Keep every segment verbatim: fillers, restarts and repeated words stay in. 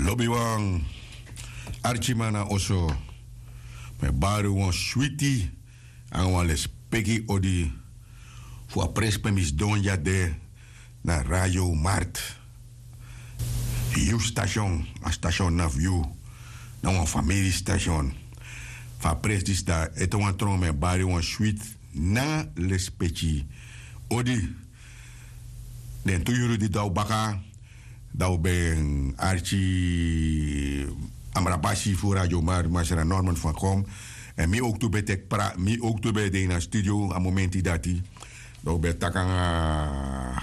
Lobiwan, arkiman na oso, mi e bari un wan switi nanga wan lespeki odi fu a presi pe mi sidon dya de, na Radio Markt. Yu station, a station na fu yu, na wan famiri station. Fu a presi disi, dan ete wan tron mi e bari wan switi nanga lespeki odi. Den tu yuru di dou baka, dan un ben arki amrabasi fu Radio Markt, Masra Norman Van Kom. Èn mi owktu ben teki pra, mi owktu ben de ini a studio a momenti dati. Dan un ben taki nanga,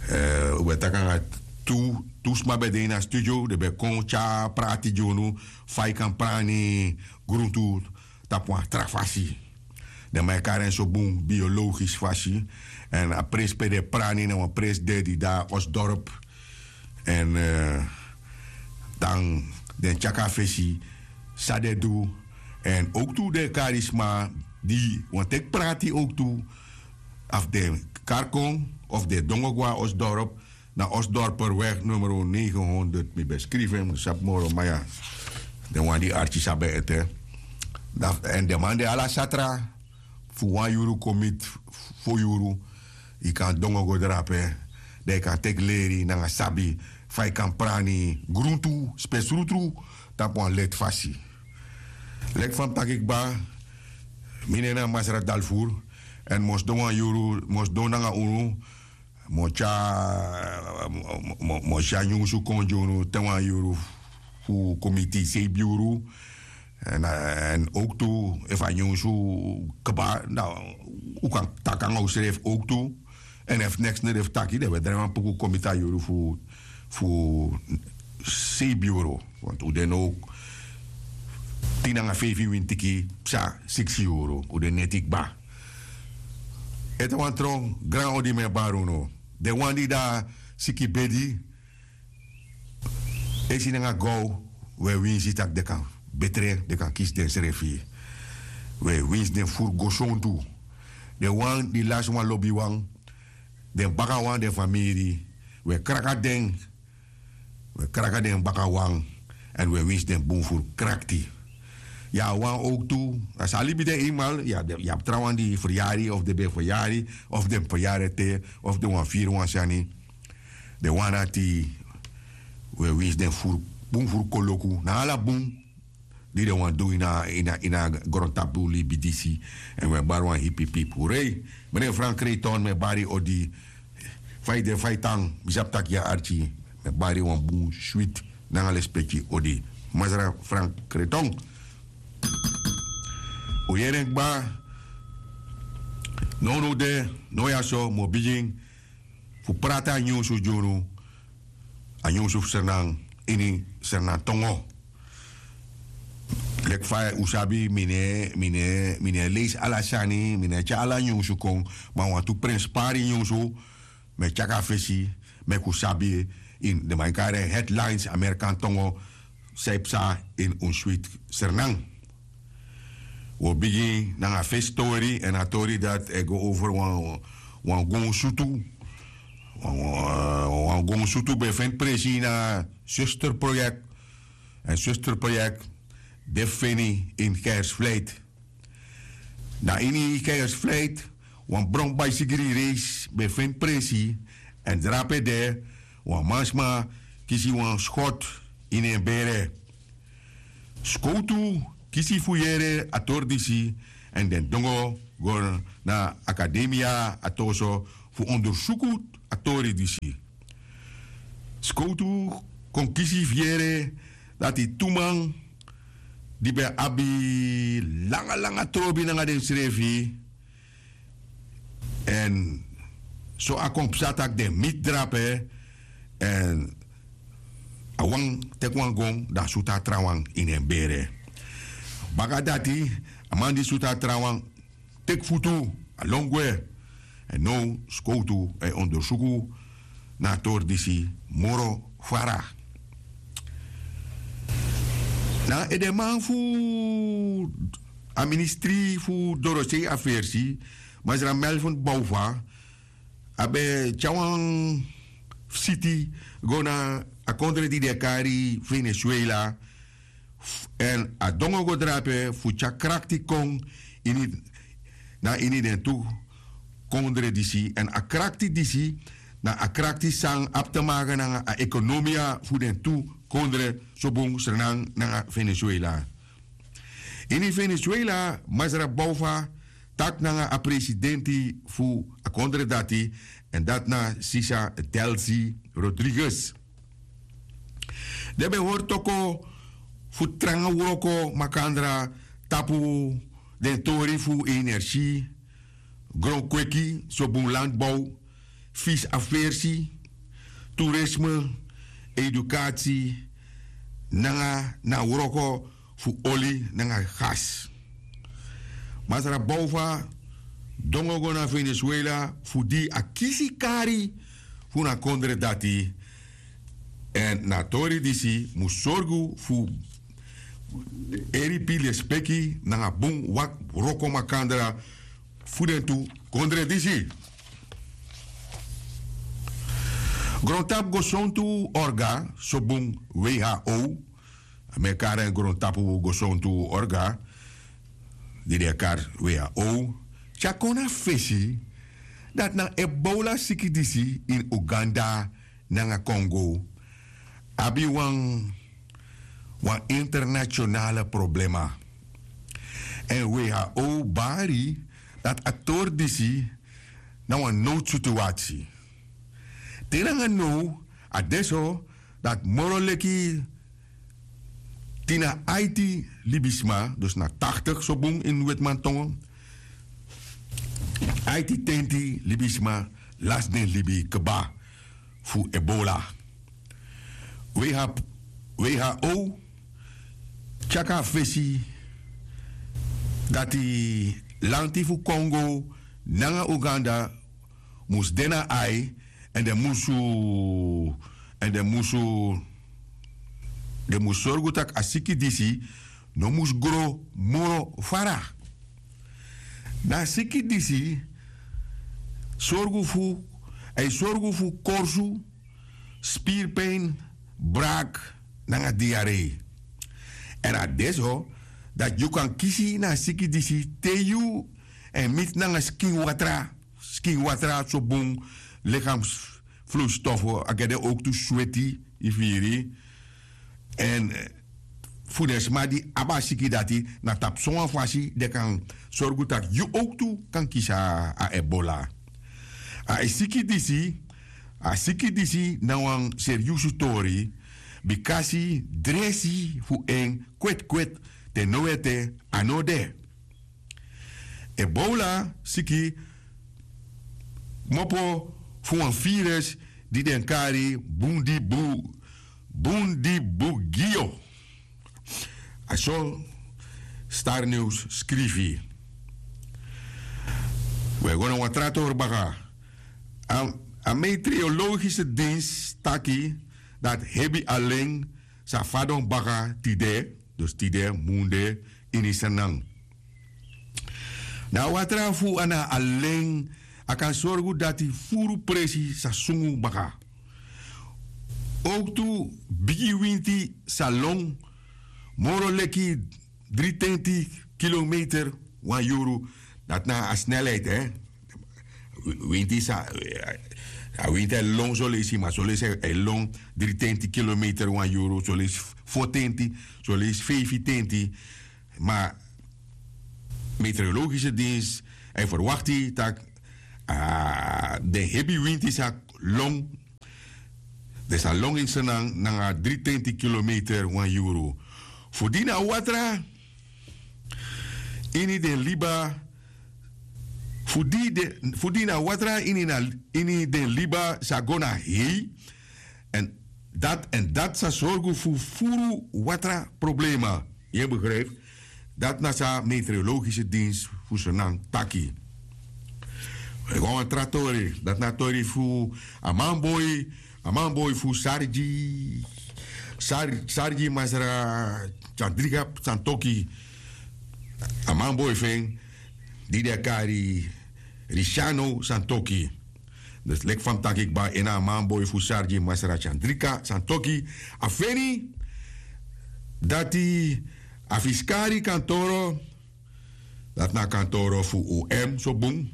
eh, un ben taki nanga tu, tu sma ben de ini a studio, den ben kon tyari prati gi unu fa yu kan prani gruntu tapu wan tra fasi. Den man e kari en so bun, biologisi fasi. Èn a presi pe den e prani na wan presi de di de na Osdorp. Èn, eh, dan den tyari kon na fesi san den du. Èn owktu den e kari sma di wani teki prati owktu, efu den kari kon, efu den e dongo go na Osdorp, na Osdorperweg numero negenhonderd, mi ben skrifi en, mi no sabi moro, ma ya, den wan di arki sabi en ete. Dan, èn den man de ala satra, fu wan yuru kon miti fo yuru, yu kan dongo go drape, dan yu kan teki leri nanga sabi fa yu kan prani gruntu spesrutru tapu wan leti fasi. Leki fa mi taki kba, mi nen na Masra Dalfur, èn mi o sidon wan yuru, mi o sidon nanga unu, mi o tyari, mi o, mi o, mi o tyari nyunsu kon gi unu te wan yuru fu kon miti seibi yuru. Èn, èn owktu, efu a nyunsu kba, dan un kan taki nanga unsrefi owktu. Èn efu neks no de fu taki, dan wi e drai wan puku kon miti a yuru fu, fu seibi yuru. Want un de now tin nanga feifi wintiki, psa, siksi yuru, un de neti kba. Ete wan tron, gran odi mi e bari unu. Den wan di de na siki bedi, esi nanga gaw, wi e winsi tak' den kan betre, den kan kisi densrefi. Wi e winsi den furu gosontu. Den wan di lasi wan lobiwan, den bakawan, den famiri, wi e kraka den, wi e kraka den bakawan, èn wi e winsi den bun furu krakti. Ya, wan owktu, a sa libi de eenmaal, ya, den, ya abi trawan di feryari, of den ben feryari, of den feryari ete, of den wani firi wan sani. Den wan dati, wi e winsi den furu, bun furu koloku, na ala bun di den wani du ini a, ini a, ini a grontapu libi disi. Èn wi e bari wan hipipipi. Urei, meneer Frank Creighton, mi e bari odi, fa yu de, fa yu tan, mi sabi tak' yu e arki, mi e bari wan bun switi nanga lespeki odi. Masra Frank Creighton. Un yere en kba, nownow de, now ya so, mi o bigin fu prati a nyunsu gi unu, a nyunsu fu Sranan, ini Sranan tongo. Leki fa un sabi, mi no e, mi no e, mi no e leisi ala sani, mi no e tyari ala nyunsu kon, ma wantu prenspari nyunsu, mi e tyari kon na fesi, meki un sabi, ini den man e kari en headlines, Amerikan tongo, san e psa ini un switi Sranan. Wi o bigin nanga a fesi tori, èn a tori dati e go over wan, wan gonsutu. Wan, wan, wan gonsutu ben feni presi na Zusterproject. Èn Zusterproject de feni ini Keizersvlei. Na ini Keizersvlei, wan bron baisigri reis ben feni presi, èn drape de, wan mansma kisi wan skot ini en bere. Skowtu kisi fu yere a tori disi, èn den dongo go na akademia a toso fu ondersuku a tori disi. Skowtu kon kisi fu yere dati tu man di ben abi langa langa trobi nanga densrefi. Èn so a kon psa tak' den miti drape, èn a wan teki wan gon, dan a sutu a trawan ini en bere. Baka dati, a man di sutu a trawan teki futu, a lon gwe. Èn now skowtu e ondersuku na a tori disi moro fara. Na edeman fu a ministri fu dorosei afersi, Masra Melvin Bouva, a ben tyari wan siti go na a kondre di den e kari Venezuela. Èn a dongo go drape fu tyari krakti kon ini na ini den tu kondre disi. Èn a krakti disi na a krakti san abi te maka nanga a ekonomia fu den tu kondre, sobun Sranan nanga Venezuela. Ini Venezuela, Masra Bouva taki nanga a presidenti fu a kondre dati, èn dati na Sisa Delcy Rodriguez. Den ben hori toko fu tranga wroko makandra tapu den tori fu energie, gronkweki, sobun landbouw, fisi aversi, toerisme, educatie, nanga na wroko fu oli nanga gas. Masra Bouva dongo go na Venezuela fu di a kisi kari fu na kondre dati. Èn na tori disi mus sorgu fu eripi lespeki nanga bun wak wroko makandra fu den tu kondre disi. Grontapu gosontu orga, sobun W H O, a mekara en grontapu gosontu orga di den e kari W H O, tyari kon na fesi dati na Ebola siki disi ini Uganda nanga Kongo abi wan wan internationale problema. Èn W H O bari dati a tori disi na wan nowdsituatie. Te nanga now a de so dati moro leki tin na aiti libisma, dus na taktik so bun ini wetimantongo, aiti tenti libisma lasi den libi kba fu Ebola. W H O tyari kon na fesi dati lanti fu Kongo nanga Uganda mus de na ai, èn den musu èn den musu den mus sorgu tak' a siki disi no mus gro moro fara. Na a siki disi sorgu fu a e sorgu fu korsu, spiripin, braki nanga diarei. Èn a de so dati yu kan kisi na a siki disi te yu e miti nanga skin watra skin watra so bun, likamsvloeistofo a gede owktu sweti, yu firi. Èn fu den sma di abi a siki dati na tapu sowan fasi den kan sorgu tak' yu owktu kan kisi a ebola. A e siki disi a siki disi na wan seriusu tori, bikasi dresi fu en kwetkwet te no ete a no de. Ebola siki kmopo fu wan virus di den kari bundibugio. A so starnews skrifi. We go na wan tra tori baka. A meteorologische dienst taki dati hebi alen sa fadon baka tide, dus tide munde ini senan. Na a watra fu a na alen a kan sorgu dati furu presi sa sungu baka. Owktu bigi winti sa lon moro leki dritenti kilometer wan yuru. Dati na a snelheid. Winti sa a winti e lon soleisi ma soleisi e lon dritenti kilometer wan yuru, soleisi fotenti, soleisi feifitenti. Ma meteorologische dienst e ferwakti tak' den hebi winti sa lon den sa lon ini senan nanga dritenti kilometer wan yuru. Fu di na watra ini den liba fu di na watra ini den liba sa go na hei. Èn dati èn dati sa sorgu fu furu watra problema. Yu e begrijpi? Dati na san meteorologische dienst fu senan taki. We go na wan tra tori. Dati na a tori fu a manboi a manboi fu sargi sargi masra tyandriga santoki. A manboi fu en di den e kari risiano santoki. Dus leki fa mi taki kba, en na a manboi fu sargi masra chandrika santoki, a feni dati a fiskari kantoro, dati na a kantoro fu om so bun.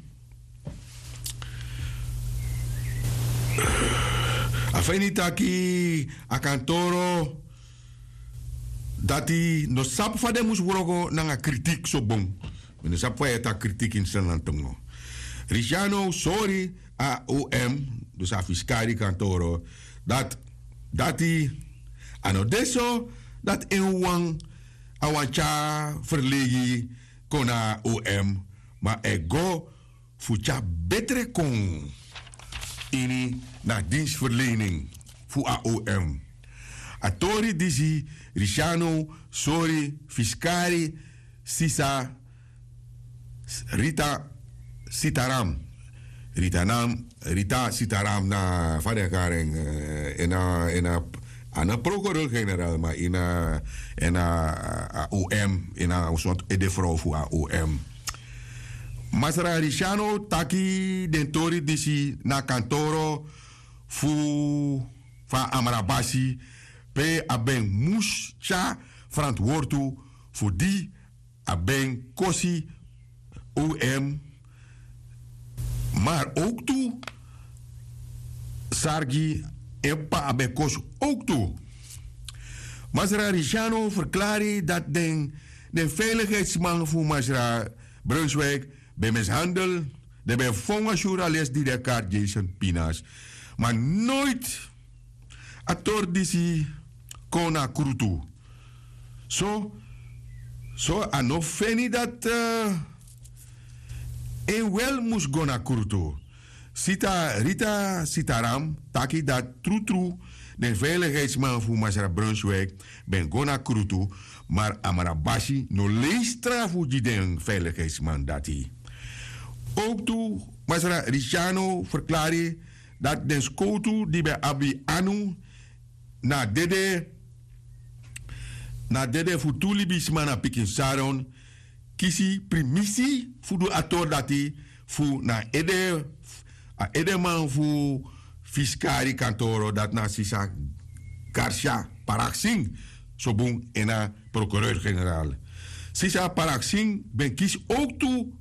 A feni taki a kantoro dati no sabi fa den mus wroko nanga kritik so bun. Mi no sabi fa yu e taki kritik ini sranantongo. Risiano sori a om, dus a fiskari kantoro, dati dati a no de so dati en wan a wan tyari ferlegi kon na a om, ma e go fu tyari betre kon ini na a dinsferlening fu a om. A tori disi risiano sori fiskari sisa rita sitaram, rita nam rita sitaram na fa den kari en, ena ena a na procureur generaal ma ina ena a om ina a sort ede frow fu a om. Masra risiano taki den tori disi na kantoro fu fa amrabasi pe a ben mus tyari frantwortu fu di a ben kosi om, mar owktu sargi en p'pa a ben kosi owktu. Masra risiano ferklari dati den den feiligheidsman fu masra brunswik ben mishandel, den ben fon wan syuru a lesi di den kari jason pinas, ma noit a tori disi kon na krutu. So so a no feni dati en wel mus go na krutu. Sita rita sitaram taki dati trutru den veiligheidsman fu masra brunswik ben go na krutu, mar amrabasi no lei strafu gi den veiligheidsman dati. Owktu masra risiano ferklari dati den skowtu di ben abi anu na dede na dede fu tu libisma na pikin saron kisi primisi fu du a tori dati fu na ede a edeman fu fiskari kantoro dati na sisa garcia paraksin so bun en na procureur generaal. Sisa paraksin ben kisi owktu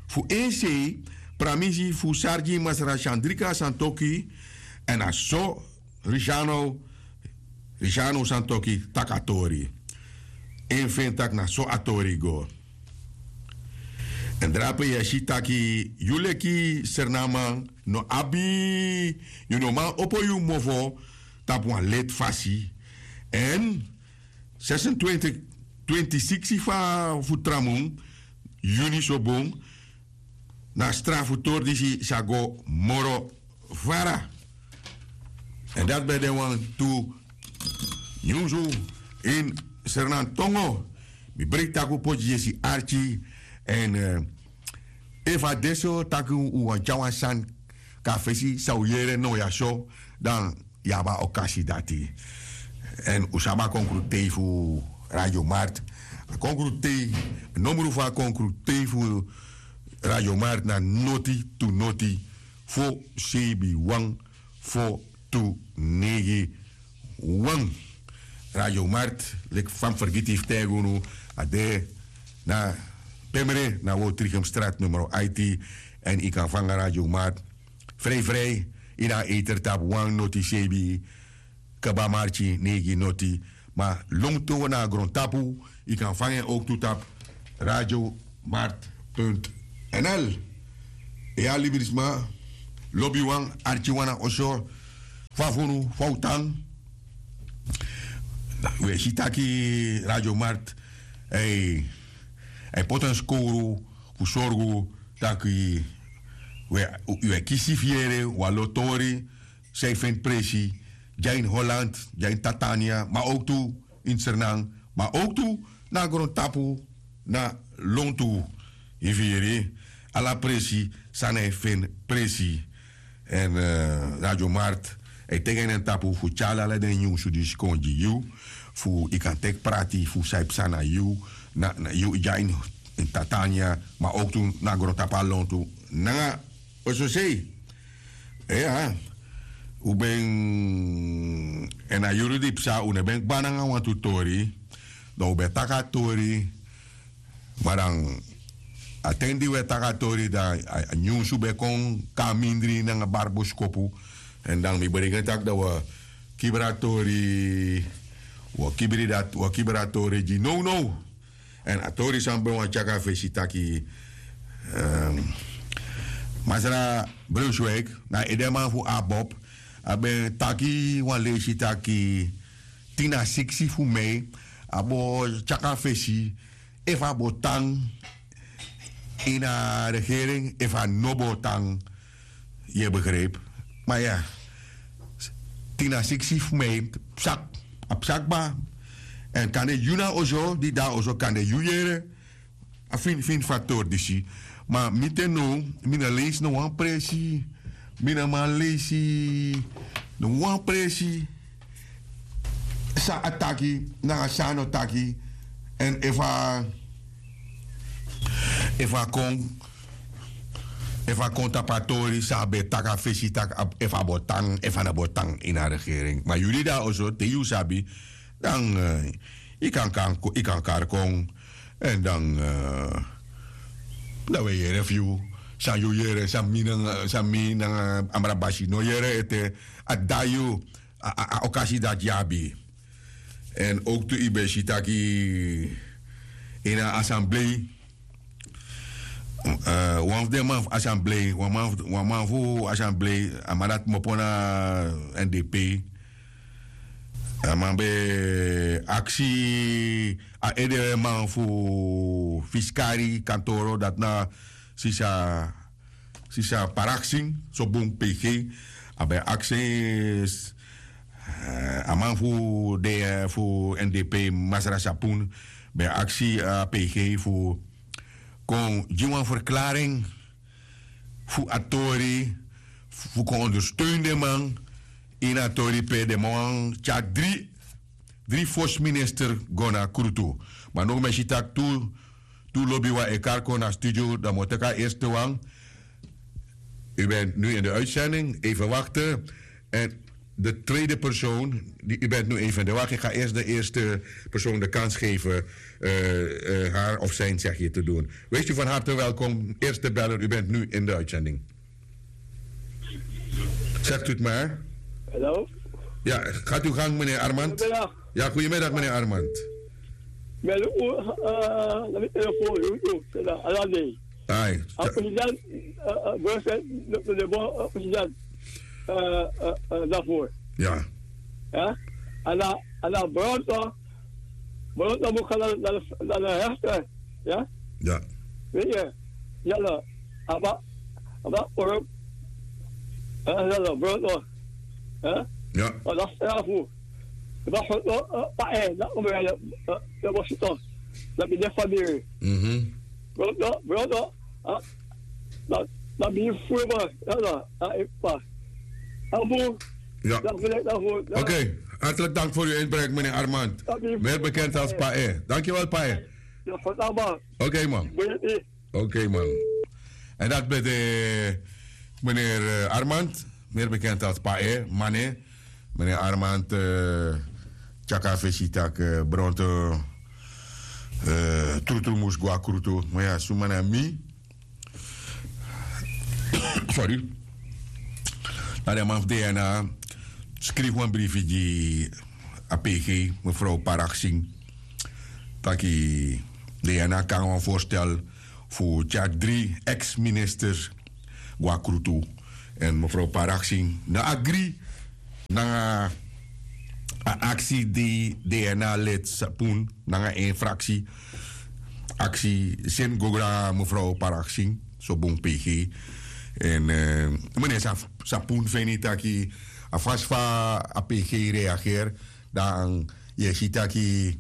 fu en sei pramisi fu sargi masra sandrika santoki èn a so risiano risiano santoki taki a tori. En feni tak' na so a tori go. Èn drape yu e si taki yu leki sernaman no abi yu no man opo yu mofo tapu wan leti fasi. Èn sesentwintig twinti siksi fu tra mun yuni so bun na strafu tori disi sa go moro vara. Èn dati ben de wantu nyunsu ini sernantongo. Mi breiti tak' un poti gi yesi arki èn efu a de so tak' un wani tyari wan sani kon na fesi san un yere now ya so dan yu abi a okasi dati. Èn un sabi a konkrutei fu radio mart. A konkrutei nomru fu a konkrutei fu radio mart na noti tu noti fo seibi wan fo tu neigi wan. Radio mart leki fa mi fergiti fu taigi unu a de na pemre na wortrigem strat numero aiti. Èn yu kan fanga radio mart frei frei ini a eter tapu wan noti seibi kaba marki neigi noti. Ma longto na a grontapu yu kan fanga en owktu tapu radio mart nl. Ya librisma lobiwan arkiwan na oso fa fu unu fa un tan. Un e si taki radio mart a e poti en skowru fu sorgu tak' yu e kisi fu yere wan lo tori san e feni presi dya ini holland dya ini tatania ma owktu ini sernan ma owktu na grontapu na lontu. Yu firi ala presi san na e feni presi. Èn radio mart e teki en na en tapu fu tyari ala den nyunsu disi kon gi yu fu yu kan teki prati fu san e psa na yu na yu dya ini tatania ma owktu na grontapu na lontu nanga ososei. Iya. Un ben, èn a yuru di psa un no ben kba nanga wantu tori. Dan un ben taki a tori. Ma dan a ten di un e taki a tori dan a nyunsu ben kon kon na mindri nanga bari boskopu. Èn dan mi berekeni tak' dan un e kibri a tori. Un e kibri dati un e kibri a tori gi nownow. Èn a tori san mi ben wani tyari na fesi taki, masra brunswik, na edeman fu abob, a ben taki wan leisi taki, tin na siksi fu mei, a bo tyari na fesi, efu a bo tan ini a regering efu a no bo tan. Yu e begripi? Ma ya, tin na siksi fu mei, psak, a psak kba. Èn kande yu na oso di de na oso kande yu yere a finfin faktori disi. Ma mi te now, mi no leisi no wan presi. Mi no man leisi no wan presi, san a taki nanga san a no taki. Èn efu a efu a kon efu a kon tapu a tori san a ben taki a fesi taki, efu a bo tan efu a no bo tan ini a regering. Ma yu di de na oso te yu sabi, dan yu kan kari kon. Èn dan dan wi e yere fu yu, san yu yere san mi nanga a mra basi no yere ete. A dai yu a okasi dati yu abi. Èn owktu yu ben si taki ini a asamblei, wan fu den man fu asamblei wan man fu asamblei, a man dati kmopo na n d p. A man ben aksi a edeman fu fiskari kantoro dati na sisa sisa paraksi, so bun pg. A ben aksi a man fu de fu n d p masra sapun ben aksi a pg fu kon gi wan ferklaring fu a tori fu kon ondersteun den man ini a tori pe den man wan tyari dri dri fosi minister go na krutu. Ma no mi e si tak' tu lobiwan e kari kon na studio dan mi o teki a eerste wan. U bent nu in de uitzending even wachten. En de tweede persoon u bent nu even in de wacht ik ga eerst de eerste persoon de kans geven haar of zijn zegje te doen. Wees u van harte welkom eerste beller u bent nu in de uitzending. Zegt u het maar. Hallo. Ja, gaat u gang meneer Armand. Ja, goedemiddag meneer Armand. Wel u na mi telefoon u u na alande. Ai. A president, president, president daarvoor. Ja. Ja. Ala ala bronto bronto moet gaan naar de rechter. Ja. Ja. Weet je. Ja. Aba aba oro. Ala bronto. Ja. Ala strafu. Aba oro. Pa eh na umere. Ya bosito. Na bide famiri. Mhm. Bronto bronto. Na mi furu man. Ya na a epa. Abu. Ja. Oké. Hartelijk dank voor uw inbreng meneer Armand. Meer bekend als pae. Dankjewel pae. Oké man. Oké man. En dat ben de meneer Armand, meer bekend als pae mane. Meneer Armand tyaka fesi tak' bronto trutru mus go na krutu. Ma ya suma na mi. Sorry. Na den man fu dna skrifi wan brifi gi a pg mevrouw paraksing taki dna kan wan voorstel fu tyari dri ex-ministers go na krutu. En mevrouw paraksing no agri nanga a aksi di dna lid sapun nanga en fraksi aksi seni go go na mevrouw paraksing so bun pg. En meneer sapun feni taki a fasi fa a pg reageri dan yu e si taki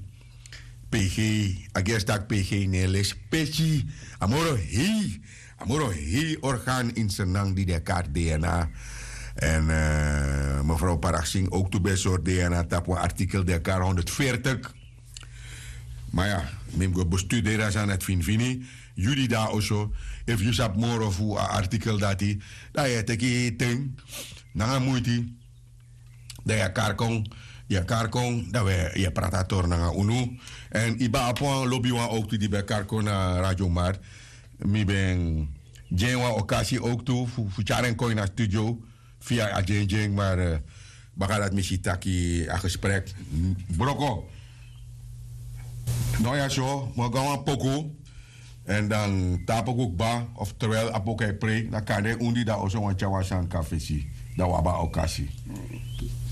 pg a gersi taki pg no e lesi peki. A moro hei a moro hei organ ini sernan di den e kari dna. Èn mevrouw paraksing owktu ben e sori dna tapu wan artikel di e kari honderdveertig. Ma ya, mi mus go bestuderi a sani na eti finifini. Yu di de na oso, efu yu sabi moro fu a artikel dati, dan yu e teki ten nanga muiti. Dan yu e kari kon, yu e kari kon, dan wi e prati a tori nanga unu. Èn yu ben abi wan lobiwan owktu di ben kari kon na Radio Mart. Mi ben gi en wan okasi owktu fu tyari en kon ini a studio. Via a dyendyen, maar baka dati mi si taki a gesprek broko. No ya so mi o go na wan poku. Èn dan te a poku kba, of terwijl a poku e prei, dan kande un di de na oso wani tyari wan sani kon na fesi, dan un abi a okasi.